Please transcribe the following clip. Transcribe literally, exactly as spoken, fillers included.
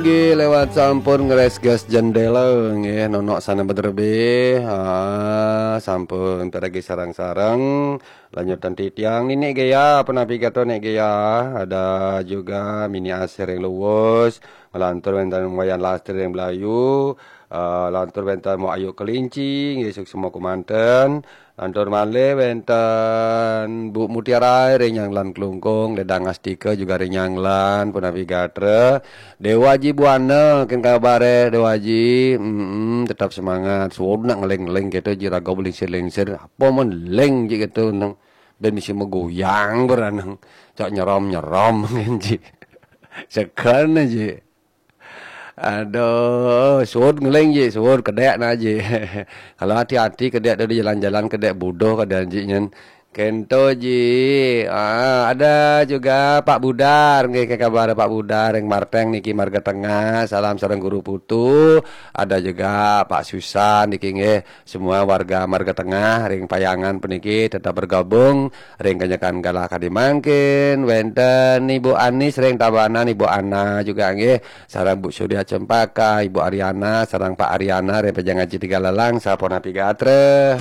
Nggih, lewat sampun ngresges jendela nggih, nonok sana bederbe. Ah, sampun pergi sareng-sareng. Lanjutan titiang nini Gea, penapi gato nek Gea. Ada juga Mini Asir yang luwes. Ngelantur wenten Wayan Lastri yang belayu. Ah, lantur wenten Mo Ayu Kelinci, nggih, suksma kumanten. Lantur malih wenten Bu Mutiara ring Nyanglan Klungkung, Ledang Astika juga ring Nyanglan, punapi gatra. Dewa Aji Buana, ken kabare Dewa Aji? Mm, tetap semangat. Suud nak ngeling-ngeling gitu, ji raga belingsir-lingsir. Apa men ling ji gitu nang ben mesti megoyang beranang. Cak nyerom-nyerom ngen ji. Sekan ji. Aduh, suud ngeling ji, suud kedek na ji. Kalau hati-hati kedek tu di jalan-jalan kedek buduh kadang ji nyen. Kento ji. Ah, ada juga Pak Budar, nggih, ke kabar Pak Budar yang Marteng niki Marga Tengah. Salam sareng Guru Putu. Ada juga Pak Susan niki nggih. Semua warga Marga Tengah ring Payangan puniki tetap bergabung ring kanyekan galah kadi mangkin. Wenten Ibu Anis ring Tabanan, Ibu Ana juga nggih. Sareng Bu Surya Cempaka, Ibu Ariana, sareng Pak Ariana, ring Pejangan Citi Galalang, sapunapi gatra.